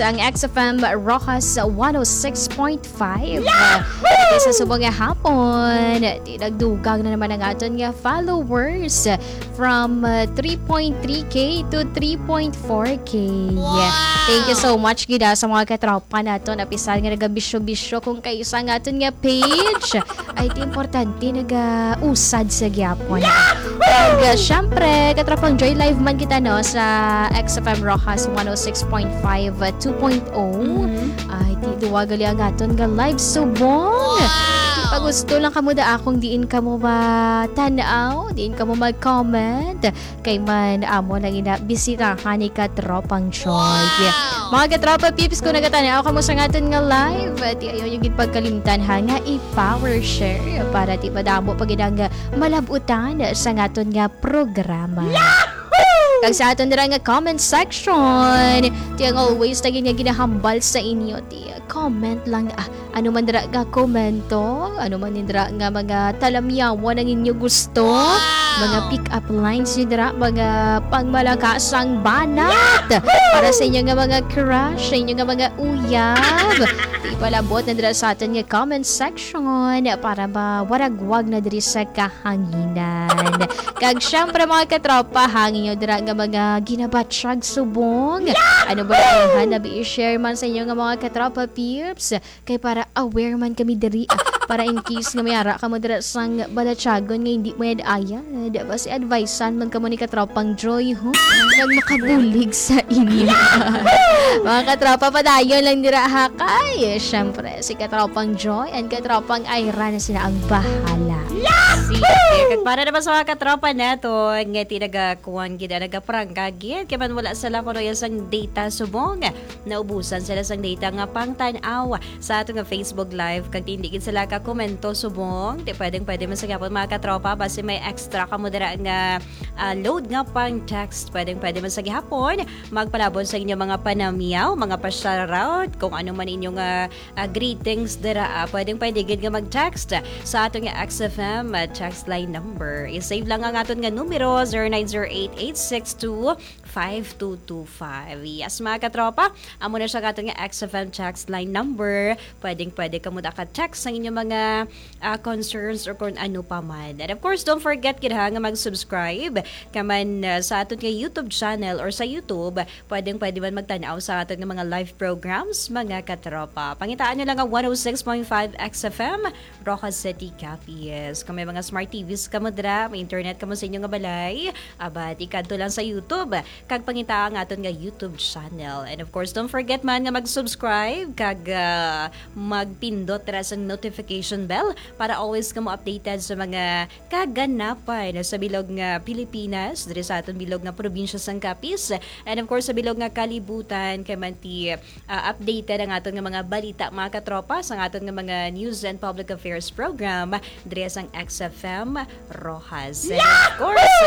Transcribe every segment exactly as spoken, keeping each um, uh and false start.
Ang X F M Roxas one oh six point five. Yahoo! Sa subong nga hapon, di nagdugang na naman ang aton nga followers from uh, three point three K to three point four K. Wow! Thank you so much gid, ah, sa mga katropa naton, apisal nga nagabisyo-bisyo kung kaisa nga aton nga page. Ay, di importante, nagausad sa gyapon. Yahoo! Kag, uh, syempre, katropang Joy, live man kita, no, sa X F M Roxas one oh six point five, uh, two point oh. Mhm. Ay, di duwa gali ang aton nga live subong. Wow! Di pa gusto lang kamo da akong diin kamo matan-aw, diin kamo mag-comment. Kay man amo lang ina bisitahan ni Katropang Joy. Wow! Mga katropa peeps, kung nagatan-aw kamo sa aton nga live, di ayaw niyo gid pagkalimtan ha nga i-power share para di madamo pa gid ang malab-utan sa aton nga programa. Yahoo! Kag sa aton dira nga comment section, di ang always na gid nga ginahambal sa inyo, di comment lang, ah, ano man dira nga komento, ano man dira nga mga talamyawan ang inyo gusto, wow! Mga pick-up lines nyo dira, mga pangmalakasang banat, yahoo! Para sa inyo nga mga crush, sa inyo nga mga uyab. Di palabot na dira sa aton nga comment section para mawaragwag na diri sa kahanginan. Kag syempre, mga katropa, hangin nyo dira nga mga ginabatyag subong. Yahoo! Ano ba ang nabi i-share man sa inyo nga mga katropa peeps? Kay para aware man kami diri, ah, para in case nga may ara kamo dira sang balatyagon nga hindi mo ayad, basi advisean man kamo ni Katropang Joy, ho? Nag makabulig sa inyo. Mga katropa, padayon lang dira, ha? Kay, syempre, si Katropang Joy and Katropang Ira na sila ang bahala. Sige. Kag para naman sa mga katropa naton nga di nagakuan gid, ah, nagaprangka gid, kay man wala sila kuno sang data subong. Naubusan sila sang data nga pangtan-aw sa ato nga Facebook Live, kag hindi gid sila ka komento subong. Di pwedeng pwede man sa gyapon, mga katropa, basi may extra kamo dira nga, ah, load nga pang text. Pwedeng pwede man sa gihapon magpalabot sa inyo mga panamyaw, mga pa-shoutout, kung ano man inyo nga, ah, greetings dira. Ah, pwedeng pwede gid nga mag-text sa ato nga X F M, ah, text line number. I-save lang ang aton nga numero, zero nine zero eight, eight six two, five two two five. Yes, mga katropa, amo na siya ang aton nga X F M text line number. Pwedeng pwede kamo da ka-text sa inyong mga, ah, concerns or kung ano pa man. And of course, don't forget gid ha nga mag-subscribe ka man, ah, sa aton nga YouTube channel or sa YouTube. Pwedeng pwede man magtan-aw sa aton nga mga live programs, mga katropa. Pangitaan nyo lang ang one oh six point five X F M, Roxas City, Capiz. Kung may mga smart T Vs kamo dira, may internet kamo sa inyo nga balay, aba, di kadto lang sa YouTube kag pangita ang aton nga YouTube channel. And of course, don't forget man nga mag-subscribe kag, ah, magpindot dira sa notification bell para always kamo updated sa mga kaganapan sa bilog nga Pilipinas, diri sa aton bilog nga probinsya sang Capiz, and of course sa bilog nga kalibutan, kay man ti, ah, updated ang aton nga mga balita, mga katropa, sa aton nga mga news and public affairs program diri sang X F M Roxas. And of course,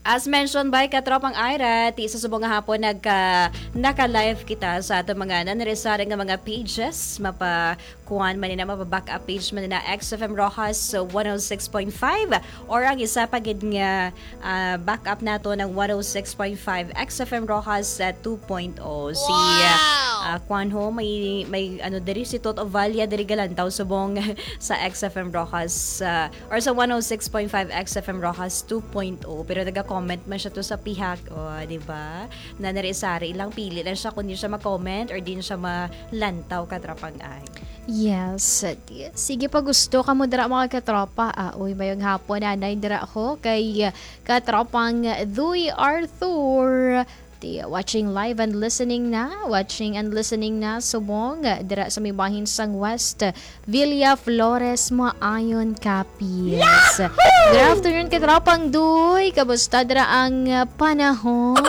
as mentioned by Katropang Ira, ti sa subong nga hapon nagka, naka-live kita sa aton mga nanari-sari nga mga pages, mapa-, kuan man nina, mapa-back up page man nina, X F M Roxas one oh six point five, or ang isa pa gid nga, ah, back up nato ng one oh six point five X F M Roxas, ah, two point oh. Si, ah, Wow! ah, kuan ho, may, may ano diri, si Toto Valla diri galantaw subong sa X F M Roxas, ah, or sa one oh six point five X F M Roxas two point oh. Pero naga-comment man siya to sa pihak, oh, di ba? Na nari-sari lang, pili lang siya kung di siya ma-comment or di siya malantaw, katrapang ay. Yes. Sige pa, gusto ka mo dira, mga katropa. Ah, uy, mayong hapon, nanay, dira ako kay, ah, katropang Duy Arthur. Ti, watching live and listening na, watching and listening na, subong, dira sa may bahin sang West Villa Flores, Maayon, Capiz. Yahoo! Good afternoon, katropang Duy. Kamusta dira ang, ah, panahon?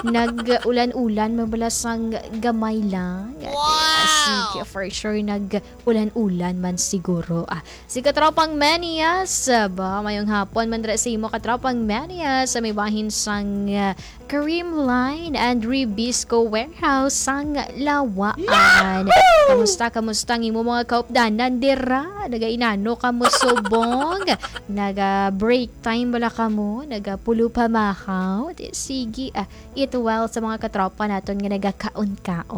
Nag-ulan-ulan, mabala sang gamay lang. Wow! Sige, for sure, nag-ulan-ulan man siguro. Ah, si katropang Manias, ah, ba, mayong hapon man dira sa imo, katropang Manias, sa may bahin sang, ah, Kareem Line and Ribisco Warehouse sang Lawaan. Yahoo! Kamusta, kamusta ang imo mga kaupdanan dira? Nagainano kamo subong? Naga-break time bala kamo? Nagapulo pa mahaw? Di, sige, ah, eat well sa mga katropa naton nga nagakaon-kaon.